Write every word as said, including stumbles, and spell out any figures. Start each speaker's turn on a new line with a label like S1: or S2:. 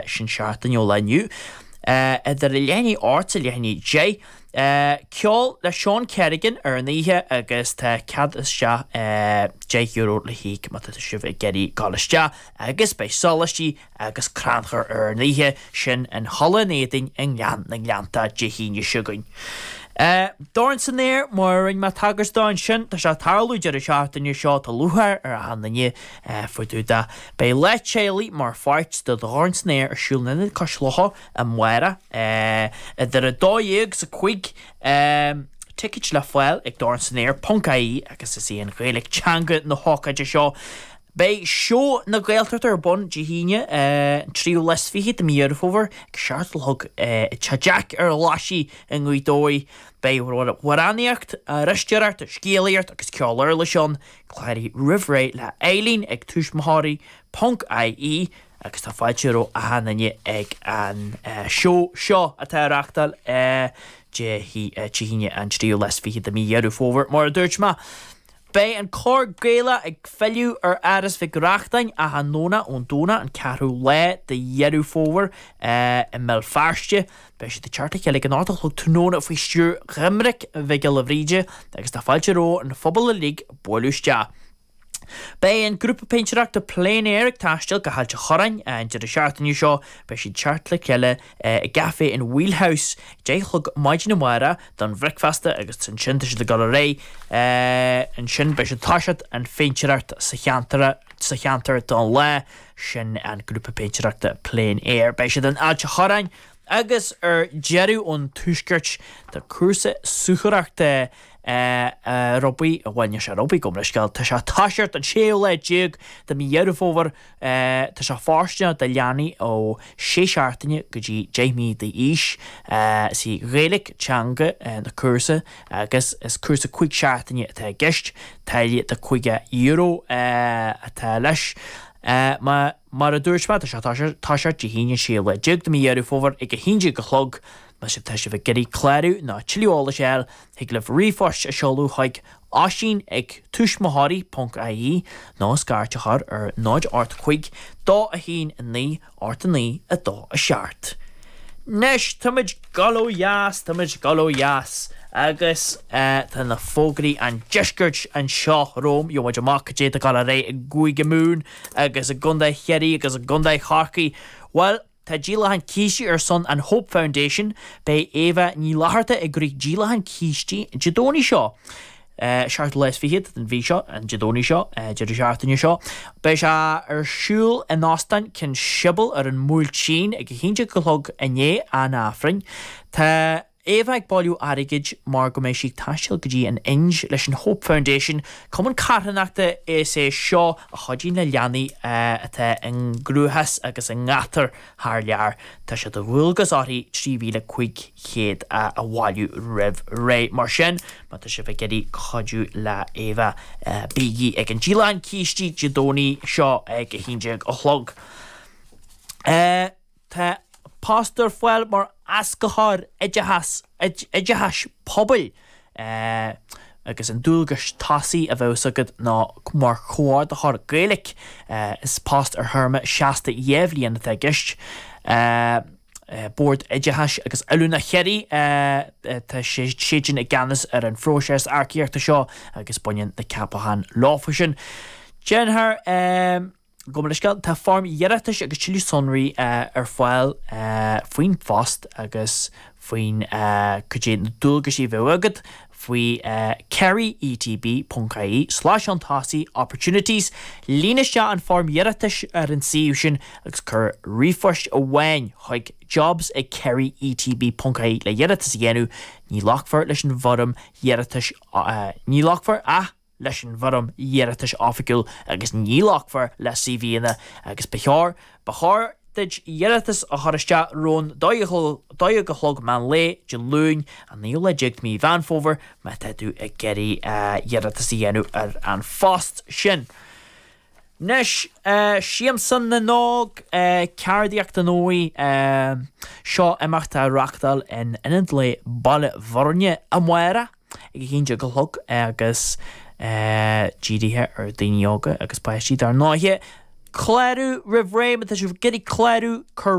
S1: Sin seachtain ó lá inniu. Idir a leath i ndiaidh a hocht is a leath i ndiaidh a deich. Ceol le Seán Kerrigan ar an oíche agus tá cead isteach deich euro le híoc má tá sibh ag iarraidh dul isteach agus beidh sóláistí agus crannchur ar an oíche sin in Halla an Éadain i nGleann na nGleannta Dé hAoine seo chugainn. Dorn san Aer, mar a rinne mé tagairt dó ansin, tá sé ag tarlú deireadh seachtaine seo, tá lúcháir ar achan duine faoi dtaobh de. Beidh Lá Teaghlaigh mar pháirt de Dhorn san Aer ar siúl in Ionad Cois Locha amárach idir a dó dhéag is a cúig. Ticéid le fáil ag dornsanaer ponc ie agus is í an Ghaeilge teanga na hócáide seo. Beidh Seó na Gaeltachta ar bun Dé hAoine, an tríú lá is fiche de mhí Dheireadh Fómhair, ag a seacht a chlog i dTeach Jack ar an Ghlaisigh i nGaoth Dobhair. Beidh amhránaíocht, aisteoireacht, scéalaíocht agus ceol uirlise ann. Cláraigh roimh ré le Eileen ag tuismitheoirí ponc ie agus tá fáilte roimh achan duine ag an seó seo atá á reáchtáil Dé hAoine an tríú lá is fiche de mhí Dheireadh Fómhair, mar a dúirt mé. Beidh an Cór Gaelach ag filleadh ar Áras Mhic Reachtain achan Domhnach ón Domhnach an ceathrú lá de Dheireadh Fómhair i mBéal Feirste. Beidh siad ag teacht le chéile ag an ocht a chlog tráthnóna faoi stiúir Dhoiminic Mhic Giolla Bhríde agus tá fáilte roimh an phobal uilig bualadh isteach. Beidh an grúpa péintéireachta Plein Air ag taisteal go hAilt an Chorráin an deireadh seachtaine seo. Beidh siad ag teacht le chéile i gcaife an Wheelhouse deich a chlog maidin amárach don bhricfeasta agus ansin tá siad ag dul ar aghaidh ansin beidh siad ag toiseacht an phéintéireacht sa cheantar sa cheantar don lá sin an grúpa péintéireachta Plein Air. Beidh siad in Ailt an Chorráin agus ar deireadh ón tuaisceart tá cúrsa suathaireachta ar bun, bhuel níl sé ar bun gabh mo leithscéal, tá sé ag toiseacht an séú lá déag de mhí Dheireadh Fómhair, tá sé fóirsteanach do leanaí ó sé seachtaine go dtí deich mí d'aois. Is í Gaeilge teanga na cúrsa agus is cúrsa cúig seachtaine atá i gceist, táille de caoga euro atá leis. Mar a dúirt mé, tá sé ag toiseacht Dé hAoine an séú lá déag de mhí Dheireadh Fómhair ag a haon déag a chlog. Má tá sibh ag iarraidh clárú nó tuilleadh eolais a fháil, thig libh ríomhphost a seoladh chuig oisín ag tuismitheoirí ponc ie nó scairt a chur ar náid ocht cúig dó a haon a naoi ocht a naoi a dó a seacht. Anois, táimid ag dul ó dheas, táimid ag dul ó dheas agus tá na fógraí an deiscirt anseo romham, gheobhaidh muid amach cad é atá ag dul ar aghaidh i gCúige Mumhan agus i gContae Chiarraí agus i gContae Chorcaí. Bhuel, Tá díolachán cístí ar son an Hope Foundation. Beidh Éabha Ní Fhlatharta ag rith díolachán cístí Dé Domhnaigh seo. Seachtú lá is fichead den mhí seo, an Dé Domhnaigh seo, deireadh seachtaine seo. Beidh sé ar siúl in Óstán Cheann Siubhail ar an mBuailtín ag a haon déag a chlog i ndiaidh an Aifrinn. Tá. Éabha ag bailiú airgid mar go mbeidh sí ag taisteal go dtí an Ind leis an Hope Foundation, cumann carthanachta is é seo a chuidíonn le leanaí atá i gcruachás agus i ngátar thar lear. Tá sé de dhualgas uirthi trí mhíle cúig chéad a bhailiú roimh ré. Mar sin, má tá sibh ag iarraidh cuidiú le Éabha, bígí ag an díolachán cístí Dé Domhnaigh seo ag a haon déag a chlog. Tá post ar fáil mar éascaitheoir oideachais pobail agus an dualgas tosaigh a bheas agat ná mar chomhordaitheoir Gaeilge. Is post ar théarma seasta dhá bhliain atá i gceist. Bord Oideachais agus Oiliúna Chiarraí, tá siadsan i gceannas ar an phróiseas earcaíochta seo agus baineann na ceapacháin leofa sin. Déanfar. Gabh mo leithscéal, tá foirm iarratais agus tuilleadh sonraí ar fáil faoin phost agus faoin cad é na dualgaisí a bheadh agat faoi kerry etb ponc ie slais chun tosaigh opportunities. Líon isteach an foirm iarratais ar an suíomh sin agus cuir ríomhphost amháin chuig jobs ag kerry etb ponc ie le hiarratas a dhéanamh. Ní ghlacfar leis an bhfoirm iarratais ní ghlacfar ach leis an bhfoirm iarratais oifigiúil agus ní ghlacfar le CVanna agus ba chóir ba chóir duit iarratas a chur isteach roimh an dó dhéag a chlog meán lae Dé Luain an naoú lá déag de mhí Mheán Fómhair má tá tú ag iarraidh iarratas a dhéanamh ar an phost sin. Anois, Siamsa na nÓg, Ceardaíocht an Óigh, seo imeacht á reachtáil in Ionad Lae Baile Bhuirne amárach ag a haon déag a chlog agus dírithe ar daoine óga agus páistí dar ndóighe. Clárú roimh ré, má tá sibh ag iarraidh clárú, cuir